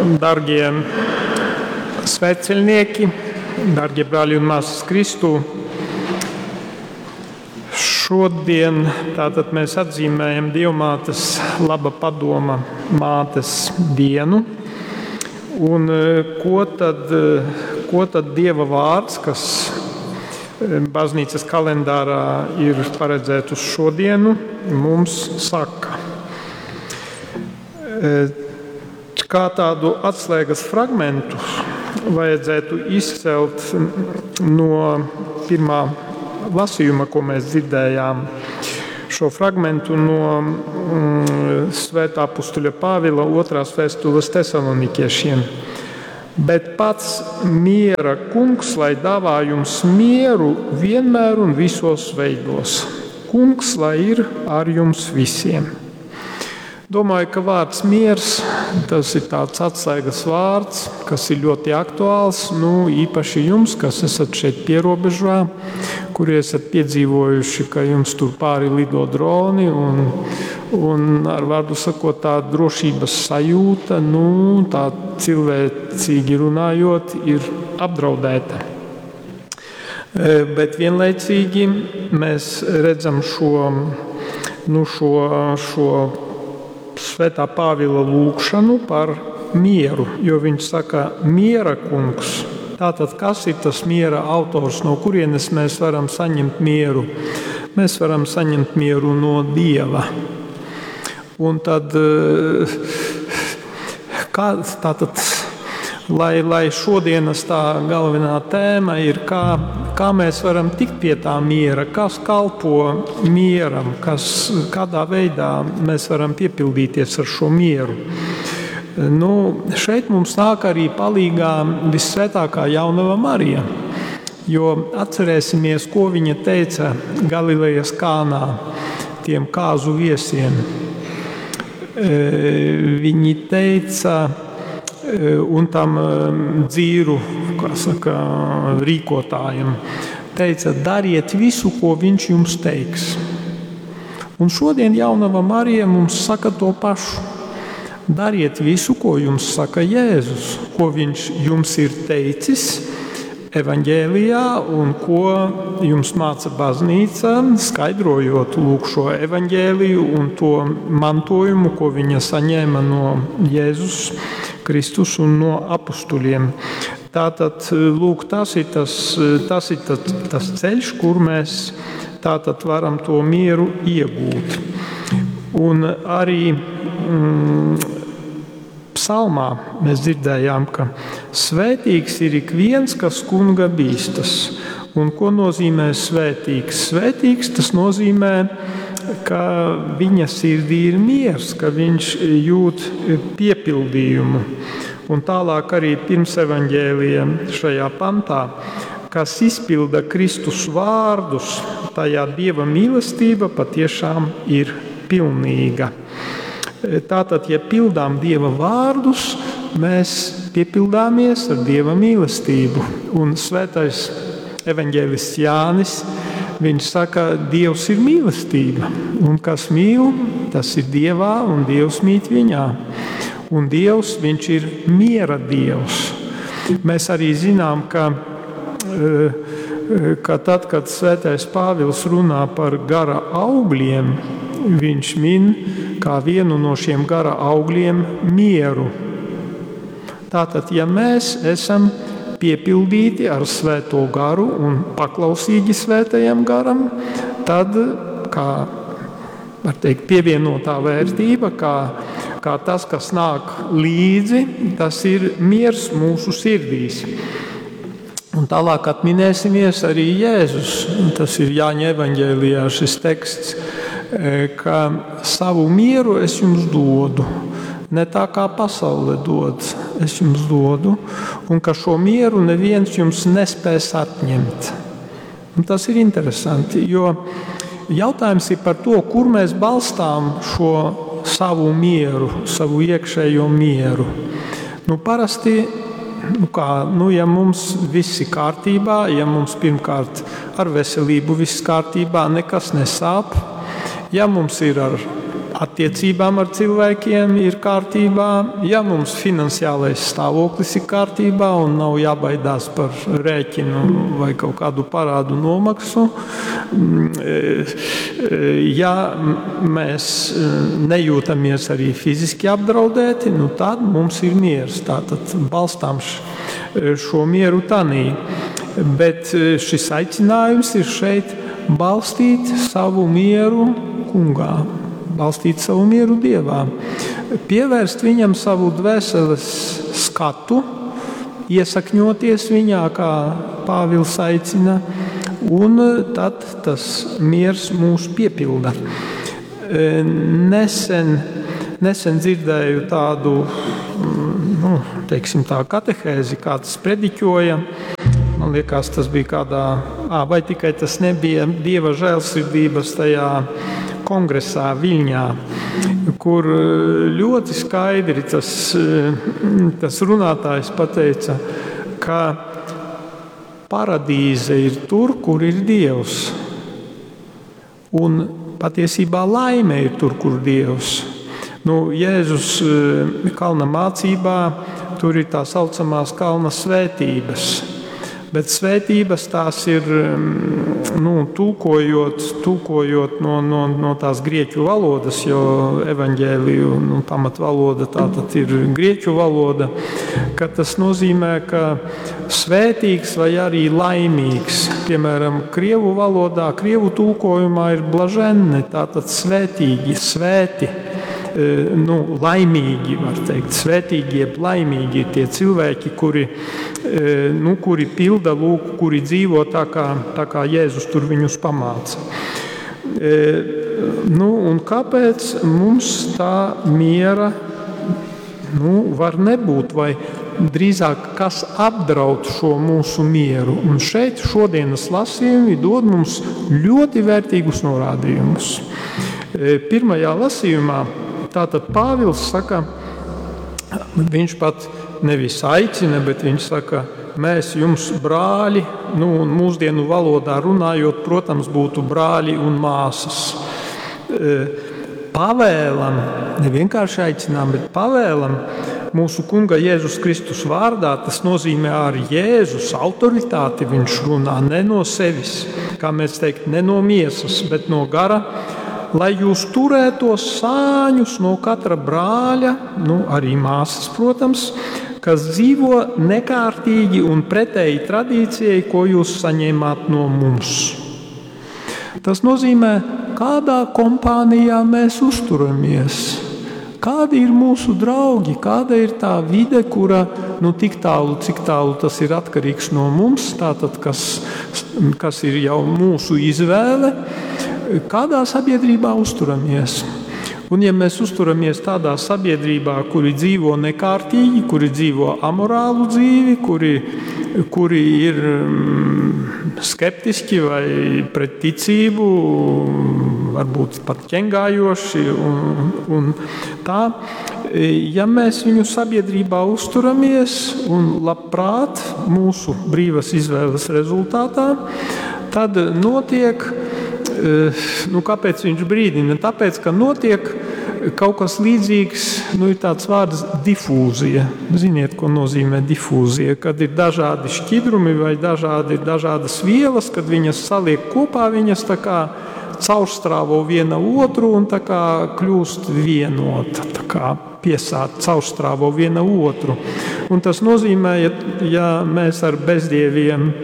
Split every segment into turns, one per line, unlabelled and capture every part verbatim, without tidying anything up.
Dargie svētceļnieki, dargie brāļi un māsas Kristū, šodien tātad mēs atzīmējam Dievmātes laba padoma mātes dienu. Un ko tad, ko tad Dieva vārds, kas baznīcas kalendārā ir paredzēt uz šodienu, mums saka? Kā tādu atslēgas fragmentu vajadzētu izcelt no pirmā lasījuma, ko mēs dzirdējām. Šo fragmentu no mm, Svētā apustuļa Pāvila otrās vēstules Tesalonikiešiem. Bet pats miera kungs, lai dāvā jums mieru vienmēr un visos veidos. Kungs, lai ir ar jums visiem. Domāju, ka vārds miers, tas ir tāds atslēgas vārds, kas ir ļoti aktuāls, nu, īpaši jums, kas esat šeit pierobežā, kuri esat piedzīvojuši, ka jums tur pāri lido droni un, un ar vārdu sakot, tā drošības sajūta, nu, tā cilvēcīgi runājot, ir apdraudēta. Bet vienlaicīgi mēs redzam šo, nu, šo, šo Svētā Pāvila lūgšanu par mieru, jo viņš saka, miera kungs. Tātad, kas ir tas miera autors, no kurienes mēs varam saņemt mieru? Mēs varam saņemt mieru no Dieva. Un tad, kā, tātad, lai, lai šodienas tā galvenā tēma ir, kā, kā mēs varam tikt pie tā miera, kas kalpo mieram, kas, kādā veidā mēs varam piepildīties ar šo mieru. Nu, šeit mums nāk arī palīgā Vissvētākā Jaunava Marija, jo atcerēsimies, ko viņa teica Galilejas Kānā tiem kāzu viesiem. Viņi teica, un tam dzīru, kā saka, rīkotājiem, teica, dariet visu, ko viņš jums teiks. Un šodien Jaunava Marija mums saka to pašu. Dariet visu, ko jums saka Jēzus, ko viņš jums ir teicis evaņģēlijā un ko jums māca baznīca, skaidrojot lūk šo evaņģēliju un to mantojumu, ko viņa saņēma no Jēzus Kristus un no apustuļiem. Tātad, lūk, tas ir tas, tas, ir tas, tas ceļš, kur mēs tātad varam to mieru iegūt. Un arī mm, psalmā mēs dzirdējām, ka svētīgs ir ik viens, kas kunga bīstas. Un ko nozīmē svētīgs? Svētīgs tas nozīmē, ka viņa sirdī ir miers, ka viņš jūt piepildījumu. Un tālāk arī pirms evaņģēlija šajā pantā, kas izpilda Kristus vārdus, tajā Dieva mīlestība patiešām ir pilnīga. Tātad, ja pildām Dieva vārdus, mēs piepildāmies ar Dieva mīlestību. Un svētais evaņģēlists Jānis, viņš saka, Dievs ir mīlestība, un kas mīl, tas ir Dievā, un Dievs mīt viņā. Un Dievs, viņš ir miera Dievs. Mēs arī zinām, ka, ka tad, kad svētais Pāvils runā par gara augļiem, viņš min kā vienu no šiem gara augļiem mieru. Tātad, ja mēs esam piepildīti ar svēto garu un paklausīgi svētajam garam, tad, kā var teikt, pievienotā vērtība, kā, kā tas, kas nāk līdzi, tas ir miers mūsu sirdīs. Un tālāk atminēsimies arī Jēzus. Tas ir Jāņa evaņģēlijā šis teksts, ka savu mieru es jums dodu. Ne tā kā pasaule dod, es jums dodu, un ka šo mieru neviens jums nespēs atņemt. Un tas ir interesanti, jo jautājums ir par to, kur mēs balstām šo savu mieru, savu iekšējo mieru. Nu, parasti, nu kā, nu, ja mums viss ir kārtībā, ja mums pirmkārt ar veselību viss kārtībā, nekas nesāp, ja mums ir ar attiecībām ar cilvēkiem ir kārtībā, ja mums finansiālais stāvoklis ir kārtībā un nav jābaidās par rēķinu vai kaut kādu parādu nomaksu, ja mēs nejūtamies arī fiziski apdraudēti, nu tad mums ir miers. Tātad balstām šo mieru tanī. Bet šis aicinājums ir šeit balstīt savu mieru kungā, balstīt savu mieru Dievā, pievērst viņam savu dvēseles skatu, iesakņoties viņā, kā Pāvils aicina, un tad tas miers mūs piepilda. Nesen, nesen dzirdēju tādu, nu, teiksim tā, katehēzi, kāds prediķoja. Man liekas, tas bija kādā, ā, vai tikai tas nebija Dieva žēlsirdības tajā kongresā Viļņā, kur ļoti skaidri tas, tas runātājs pateica, ka paradīze ir tur, kur ir Dievs. Un patiesībā laime ir tur, kur Dievs. Nu, Jēzus kalna mācībā, tur ir tā saucamās kalna svētības. Bet svētības tās ir, nu, tulkojot, tulkojot no, no, no tās grieķu valodas, jo evaņģēliju, nu, pamatvaloda tātad ir grieķu valoda, ka tas nozīmē, ka svētīgs vai arī laimīgs. Piemēram, krievu valodā, krievu tulkojumā ir blaženne, tātad svētīgi, svēti. Nu, laimīgi, var teikt, svētīgi jeb laimīgi ir tie cilvēki, kuri, nu, kuri pilda, lūk, kuri dzīvo tā kā, tā kā Jēzus tur viņus pamāca. Nu, un kāpēc mums tā miera, nu, var nebūt, vai drīzāk kas apdraud šo mūsu mieru? Un šeit šodienas lasījumi dod mums ļoti vērtīgus norādījumus. Pirmajā lasījumā tātad Pāvils saka, viņš pat nevis aicina, bet viņš saka, mēs jums brāļi, nu, un mūsdienu valodā runājot, protams, būtu brāļi un māsas. Pavēlam, ne vienkārši aicinām, bet pavēlam mūsu Kunga Jēzus Kristus vārdā, tas nozīmē ar Jēzus autoritāti viņš runā, ne no sevis, kā mēs teikt, ne no miesas, bet no gara, lai jūs turētos sāņus no katra brāļa, nu, arī māsas, protams, kas dzīvo nekārtīgi un pretēji tradīcijai, ko jūs saņēmāt no mums. Tas nozīmē, kādā kompānijā mēs uzturamies, kādi ir mūsu draugi, kāda ir tā vide, kura, nu, tik tālu, cik tālu tas ir atkarīgs no mums, tātad, kas, kas ir jau mūsu izvēle, kādā sabiedrībā uzturamies. Un ja mēs uzturamies tādā sabiedrībā, kuri dzīvo nekārtīgi, kuri dzīvo amorālu dzīvi, kuri, kuri ir skeptiski vai pret ticību, varbūt pat ķengājoši un, un tā, ja mēs viņu sabiedrībā uzturamies un labprāt mūsu brīvas izvēles rezultātā, tad notiek. Nu, kāpēc viņš brīdina? Tāpēc, ka notiek kaut kas līdzīgs, nu, ir tāds vārds difūzija. Ziniet, ko nozīmē difūzija? Kad ir dažādi šķidrumi vai dažādi, dažādas vielas, kad viņas saliek kopā, viņas tā kā caurstrāvo viena otru un tā kā kļūst vienota, tā kā piesāt, caurstrāvo viena otru. Un tas nozīmē, ja, ja mēs ar bezdieviem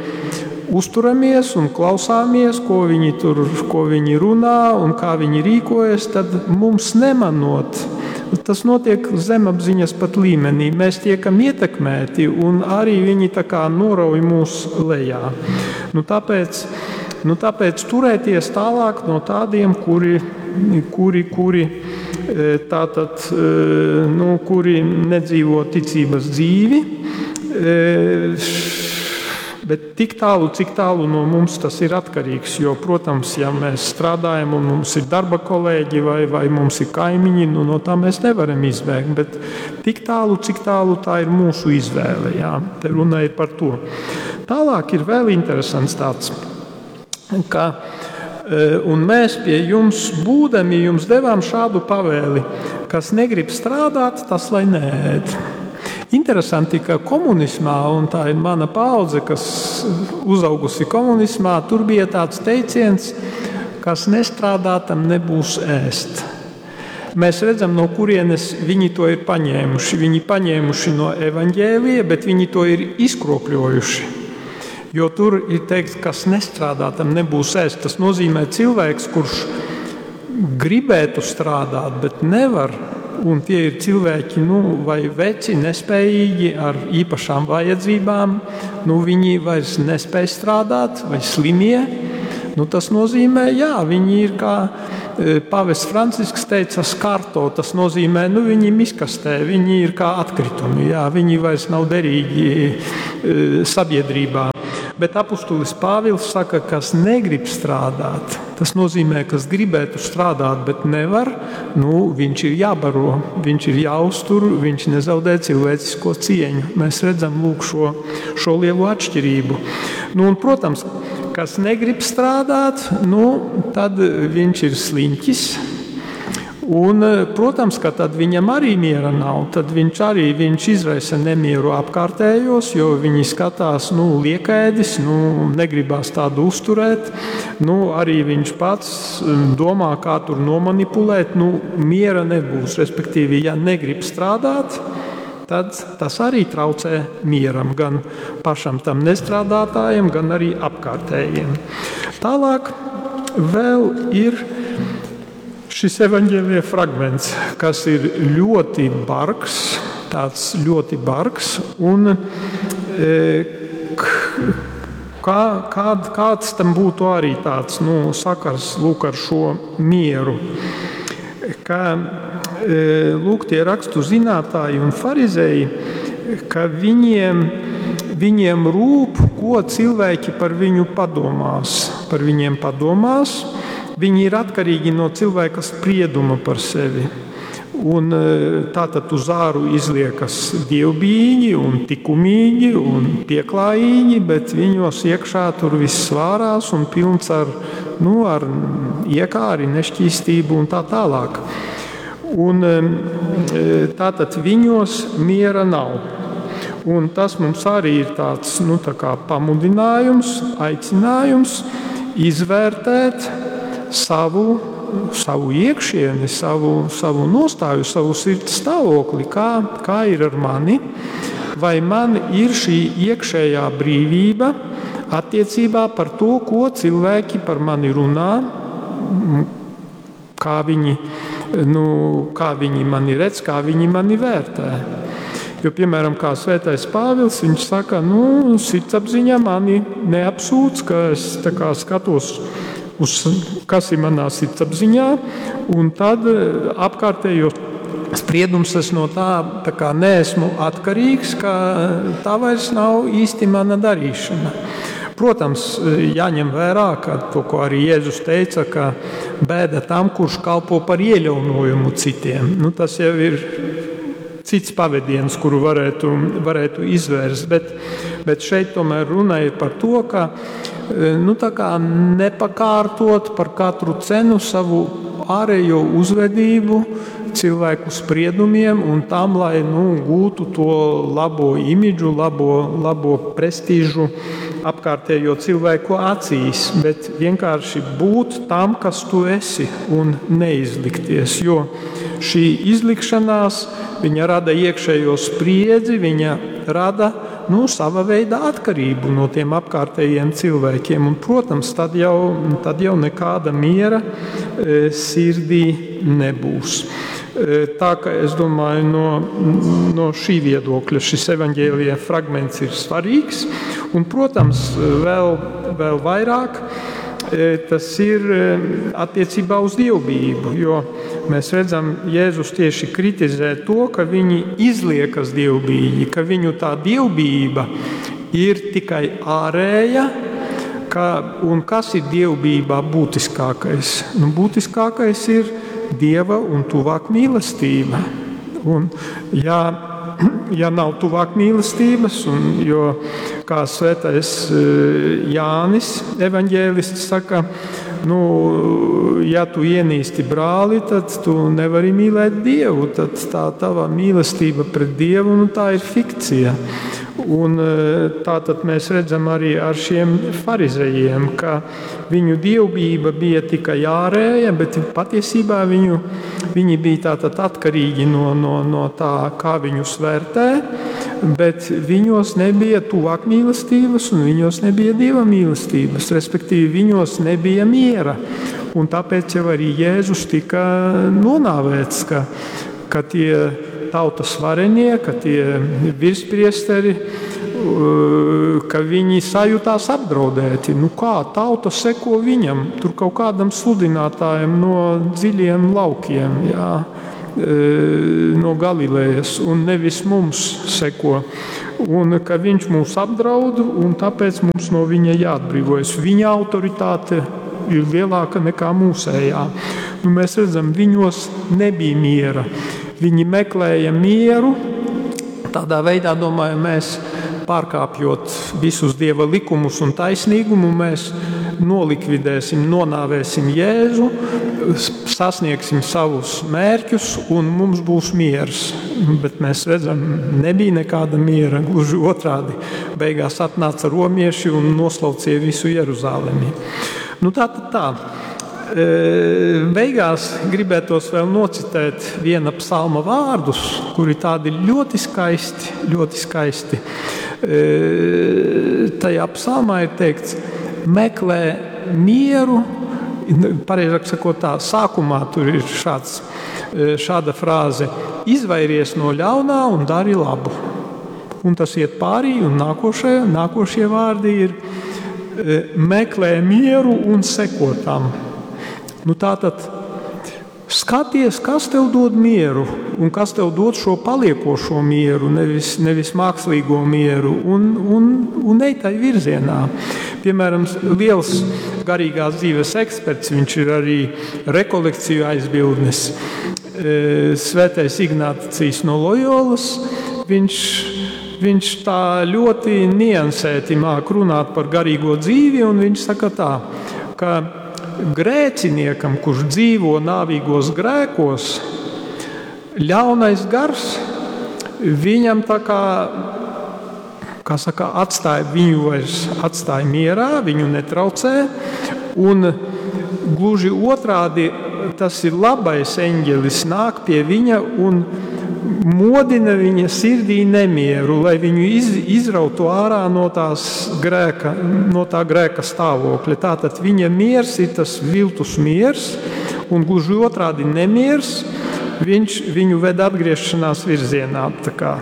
uzturamies un klausāmies, ko viņi tur, ko viņi runā un kā viņi rīkojas, tad mums nemanot, tas notiek zemapziņas pat līmenī. Mēs tiekam ietekmēti un arī viņi tā kā norauj mūs lejā. Nu, tāpēc, nu, tāpēc turēties tālāk no tādiem, kuri, kuri, kuri, tātad, nu, kuri nedzīvo ticības dzīvi, bet tik tālu, cik tālu no mums tas ir atkarīgs, jo, protams, ja mēs strādājam un mums ir darba kolēģi vai, vai mums ir kaimiņi, nu, no tā mēs nevaram izbēgt, bet tik tālu, cik tālu tā ir mūsu izvēle, jā, te runa ir par to. Tālāk ir vēl interesants tāds, ka Un mēs pie jums būdami jums devām šādu pavēli, kas negrib strādāt, tas lai neēd. Interesanti, ka komunismā, un tā ir mana paudze, kas uzaugusi komunismā, tur bija tāds teiciens, kas nestrādā, tam nebūs ēst. Mēs redzam, no kurienes viņi to ir paņēmuši. Viņi paņēmuši no evaņģēlija, bet viņi to ir izkropļojuši. Jo tur ir teikts, kas nestrādā, tam nebūs ēst. Tas nozīmē cilvēks, kurš gribētu strādāt, bet nevar. Un tie ir cilvēki, nu, vai veci, nespējīgi, ar īpašām vajadzībām. Nu, viņi vairs nespēj strādāt, vai slimie. Nu, tas nozīmē, jā, viņi ir, kā pavests Francisks teica, skarto. Tas nozīmē, nu, viņi miskastē, viņi ir kā atkritumi, jā, viņi vairs nav derīgi sabiedrībā. Bet apustulis Pāvils saka, kas negrib strādāt, tas nozīmē, kas gribētu strādāt, bet nevar, nu, viņš ir jābaro, viņš ir jāuztur, viņš nezaudē cilvēcisko cieņu. Mēs redzam, lūk, šo, šo lielo atšķirību. Nu, un, protams, kas negrib strādāt, nu, tad viņš ir sliņķis. Un, protams, ka tad viņam arī miera nav. Tad viņš arī viņš izraisa nemieru apkārtējos, jo viņi skatās, nu, liekēdis, nu, negribās tādu uzturēt. Nu, arī viņš pats domā, kā tur nomanipulēt. Nu, miera nebūs. Respektīvi, ja negrib strādāt, tad tas arī traucē mieram, gan pašam tam nestrādātājiem, gan arī apkārtējiem. Tālāk vēl ir šis evaņģēlija fragments, kas ir ļoti bargs, tāds ļoti bargs, un e, kā, kād, kāds tam būtu arī tāds, nu, sakars, lūk, ar šo mieru, ka, e, lūk, tie rakstu zinātāji un farizēji, ka viņiem, viņiem rūp, ko cilvēki par viņu padomās, par viņiem padomās. Viņi ir atkarīgi no cilvēka sprieduma par sevi. Un tātad uz āru izliekas dievbijīgi un likumīgi un pieklājīgi, bet viņos iekšā tur viss vārās un pilns ar, nu, ar iekāri, nešķīstību un tā tālāk. Un tātad viņos miera nav. Un tas mums arī ir tāds, nu, tā kā pamudinājums, aicinājums izvērtēt savu, savu iekšieni, savu, savu nostāju, savu sirds stāvokli, kā, kā ir ar mani, vai man ir šī iekšējā brīvība attiecībā par to, ko cilvēki par mani runā, kā viņi, nu, kā viņi mani redz, kā viņi mani vērtē. Jo, piemēram, kā Svētais Pāvils, viņš saka, nu, sirdsapziņa mani neapsūdz, ka es tā kā skatos uz, kas ir manā sirdsapziņā, un tad apkārtējo spriedums es no tā, tā kā neesmu atkarīgs, ka tā vairs nav īsti mana darīšana. Protams, jāņem vērā, ka to, ko arī Jēzus teica, ka bēda tam, kurš kalpo par ieļaunojumu citiem. Nu, tas jau ir cits pavadiens, kuru varētu, varētu izvērst, bet, bet šeit tomēr runa ir par to, ka, nu, tā kā nepakārtot par katru cenu savu ārējo uzvedību cilvēku spriedumiem un tam, lai, nu, gūtu to labo imidžu, labo, labo prestižu apkārtējo cilvēku acīs, bet vienkārši būt tam, kas tu esi, un neizlikties, jo šī izlikšanās, viņa rada iekšējo spriedzi, viņa rada, nu, sava veida atkarību no tiem apkārtējiem cilvēkiem. Un, protams, tad jau, tad jau nekāda miera, e, sirdī nebūs. E, tā ka es domāju, no, no šī viedokļa šis evaņģēlija fragments ir svarīgs. Un, protams, vēl, vēl vairāk, e, tas ir, e, attiecībā uz dievbijību, jo mēs redzam, Jēzus tieši kritizē to, ka viņi izliekas dievbijīgi, ka viņu tā dievbijība ir tikai ārēja, ka, un kas ir dievbijībā būtiskākais? Nu, būtiskākais ir Dieva un tuvāk mīlestība. Un, ja, ja nav tuvāk mīlestības, un, jo, kā svētais, eh, Jānis evaņģēlists saka, nu, ja tu ienīsti brāli, tad tu nevari mīlēt Dievu, tad tā tava mīlestība pret Dievu, nu, tā ir fikcija. Un tā tad mēs redzam arī ar šiem farizejiem, ka viņu dievbijība bija tikai ārēja, bet patiesībā viņu, viņi bija tātad atkarīgi no, no, no tā, kā viņus vērtē, bet viņos nebija tuvāk mīlestības un viņos nebija Dieva mīlestības, respektīvi viņos nebija miera. Un tāpēc jau arī Jēzus tika nonāvēts, ka, ka tie tautas varenie, ka tie virspriesteri, ka viņi sajūtās apdraudēti. Nu kā, tauta seko viņam, tur kaut kādam sludinātājam no dziļiem laukiem, jā, no Galilejas, un nevis mums seko. Un ka viņš mūs apdraud, un tāpēc mums no viņa jāatbrīvojas. Viņa autoritāte ir lielāka nekā mūsējā. Nu, mēs redzam, viņos nebija miera. Viņi meklēja mieru, tādā veidā, domāju, mēs pārkāpjot visus Dieva likumus un taisnīgumu, mēs nolikvidēsim, nonāvēsim Jēzu, sasniegsim savus mērķus un mums būs miers. Bet mēs redzam, nebija nekāda miera, gluži otrādi. Beigās atnāca romieši un noslaucīja visu Jeruzalemi. Nu, tā tad tā. Beigās gribētos vēl nocitēt viena psalma vārdus, kuri tādi ļoti skaisti, ļoti skaisti. Tajā psalmā ir teikts, meklē mieru, pareizāk sakot tā, sākumā tur ir šāds, šāda frāze, izvairies no ļaunā un dari labu. Un tas iet pārī, un nākošie, nākošie vārdi ir meklē mieru un seko tam. Nu tātad skaties, kas tev dod mieru un kas tev dod šo paliekošo mieru, nevis, nevis mākslīgo mieru, un, un, un ej tai virzienā. Piemēram, liels garīgās dzīves eksperts, viņš ir arī rekolekciju aizbildnis, Svētais Ignācijs no Lojolas, viņš, viņš tā ļoti niansēti māk runāt par garīgo dzīvi, un viņš saka tā, ka grēciniekam, kurš dzīvo nāvīgos grēkos, ļaunais gars viņam tā kā, kā saka, atstāja viņu vairs, atstāja mierā, viņu netraucē, un gluži otrādi tas ir labais eņģelis, nāk pie viņa un modina viņa sirdī nemieru, lai viņu iz, izrautu ārā no tās grēka, no tā grēka stāvokļa. Tātad viņa miers ir tas viltus miers, un gluži otrādi nemiers, viņš viņu ved atgriešanās virzienā. Tā kā.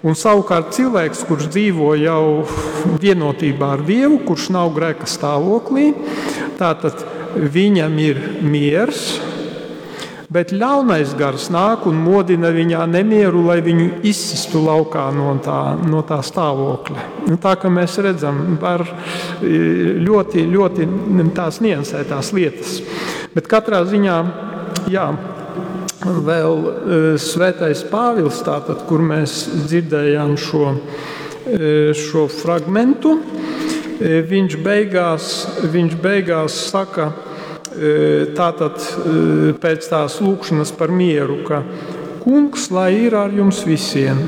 Un savukārt cilvēks, kurš dzīvo jau vienotībā ar Dievu, kurš nav grēka stāvoklī, tātad viņam ir miers, bet ļaunais gars nāk un modina viņā nemieru, lai viņu izsistu laukā no tā, no tā stāvokļa. Nu, tā kā mēs redzam, var ļoti, ļoti tās niansētās lietas. Bet katrā ziņā, jā, vēl Svētais Pāvils, tātad, kur mēs dzirdējām šo, šo fragmentu, viņš beigās, viņš beigās saka, tātad pēc tās lūgšanas par mieru, ka kungs, lai ir ar jums visiem.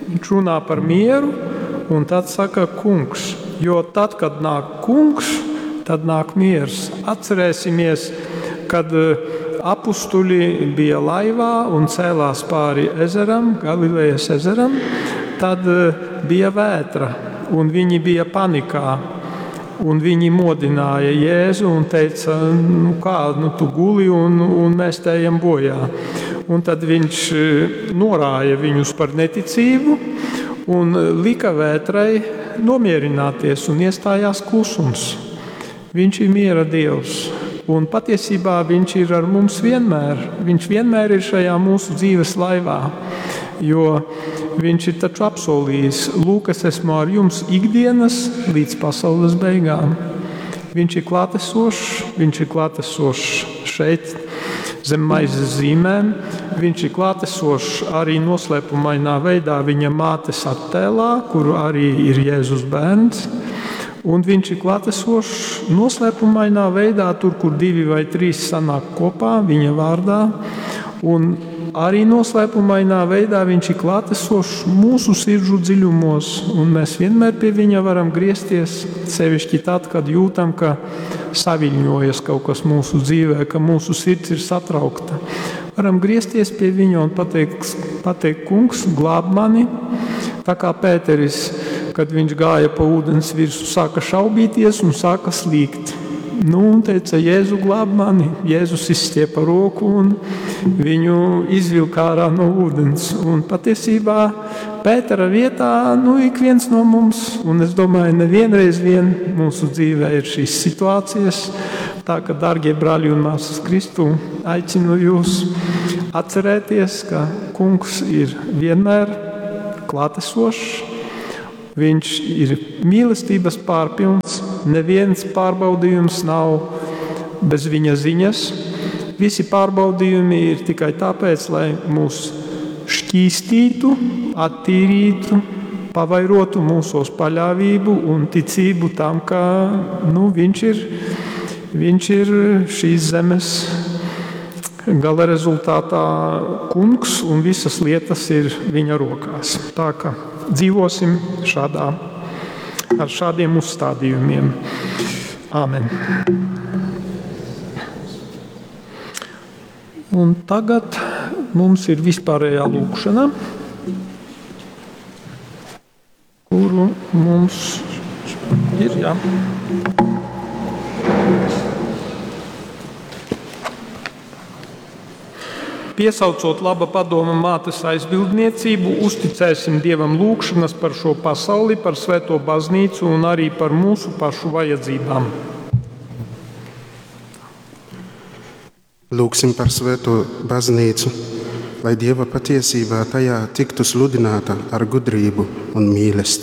Viņš runā par mieru un tad saka kungs, jo tad, kad nāk kungs, tad nāk miers. Atcerēsimies, kad apustuļi bija laivā un cēlās pāri ezeram, Galilejas ezeram, tad bija vētra un viņi bija panikā. Un viņi modināja Jēzu un teica, nu kā, nu tu guli un, un mēs te ejam bojā. Un tad viņš norāja viņus par neticību un lika vētrai nomierināties un iestājās klusums. Viņš ir miera Dievs. Un patiesībā viņš ir ar mums vienmēr. Viņš vienmēr ir šajā mūsu dzīves laivā, jo viņš ir taču apsolījis, lūk, es esmu ar jums ikdienas līdz pasaules beigām. Viņš ir klātesošs, viņš ir klātesošs šeit, zem maizes zīmēm. Viņš ir klātesošs arī noslēpumainā veidā viņa mātes attēlā, kur arī ir Jēzus bērns. Un viņš ir klātesošs noslēpumainā veidā, tur, kur divi vai trīs sanāk kopā viņa vārdā. Un arī noslēpumainā veidā viņš ir klātesošs mūsu sirdžu dziļumos, un mēs vienmēr pie viņa varam griezties, sevišķi tad, kad jūtam, ka saviļņojas kaut kas mūsu dzīvē, ka mūsu sirds ir satraukta. Varam griezties pie viņa un pateikt, pateikt kungs, glāb mani, tā kā Pēteris, kad viņš gāja pa ūdens virsmu, sāka šaubīties un sāka slīgt. Nu, un teica, Jēzu glāb mani. Jēzus izstiepa roku un viņu izvilka ārā no ūdens. Un patiesībā Pētera vietā, nu, ik viens no mums, un es domāju, nevienreiz vien mūsu dzīvē ir šīs situācijas. Tā ka, dārgie brāļi un māsas Kristū, aicinu jūs atcerēties, ka kungs ir vienmēr klātesošs. Viņš ir mīlestības pārpilns, neviens pārbaudījums nav bez viņa ziņas. Visi pārbaudījumi ir tikai tāpēc, lai mūs šķīstītu, attīrītu, pavairotu mūsos paļāvību un ticību tam, ka, nu, viņš ir, viņš ir šīs zemes gala rezultātā kungs un visas lietas ir viņa rokās. Tā ka dzīvosim šādā, ar šādiem uzstādījumiem. Āmen. Un tagad mums ir vispārējā lūkšana, kuru mums ir, jā. Piesaucot laba padoma mātes aizbildniecību, uzticēsim Dievam lūgšanas par šo pasauli, par svēto baznīcu un arī par mūsu pašu vajadzībām.
Lūgsim par svēto baznīcu, lai Dieva patiesībā tajā tiktu sludināta ar gudrību un mīlestību.